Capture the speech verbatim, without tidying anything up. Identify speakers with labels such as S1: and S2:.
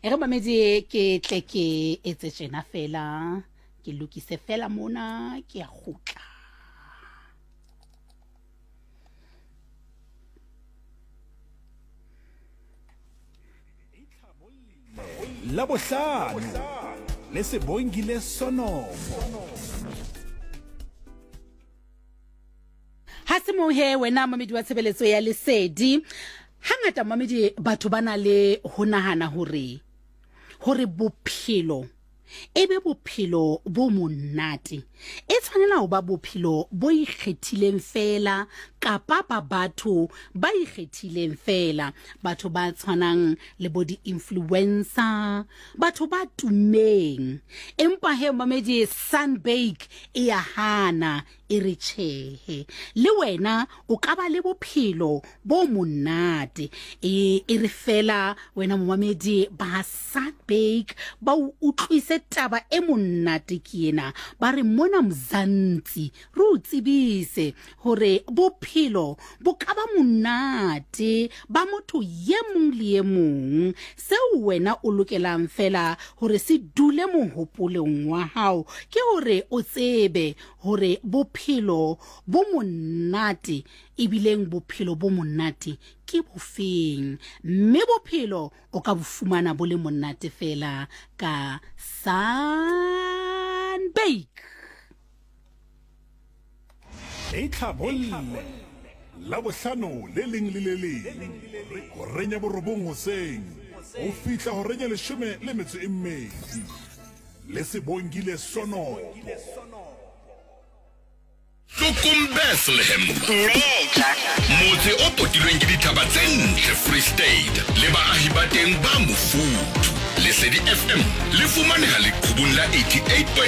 S1: E re mamedi ke tle ke etse tjena fela, ke lokise fela mona, ke a kgutla.
S2: Labohlano le Sebongile Sonopo.
S1: Ha se moo he wena mamedi wa tshebeletso ya Lesedi. Hangata mamedi batho ba na le ho nahana hore hore bophelo e be bophelo bo monate, e tshwanela ho ba bophelo bo ikgethileng fela kapa ba batho ba ikgethileng fela, batho ba tshwanang le bo di-influencer, batho ba tummeng. Empa he mamedi, Sunbake e ya hana, e re tjhehe, le wena o ka ba le bophelo bo monate. E e re fela wena momamedi ba Sunbake ba o utlwise taba e monate ke ena, ba re mona Mzansi re o tsebise hore bophelo bo ka ba monate ba motho ye mong le ye mong. Seo wena o lokelang fela hore se dule mohopolong wa hao ke hore o tsebe hore bophelo bo monate, ebileng bophelo bo monate ke bofeng, mme bophelo o ka bo fumana bo le monate fela ka Sunbake.
S2: Itlhabolle Labohlano le leng le le leng horeng ya borobong hoseng ho fihla horeng ya leshome le metso e mmedi le Sebongile Sonopo.
S3: Tlokong Bethlehem, motse o potilweng ke dithaba tse ntle Free State le baahi ba teng ba mofuthu. Lesedi F M le fumaneha leqhubung la eighty-eight point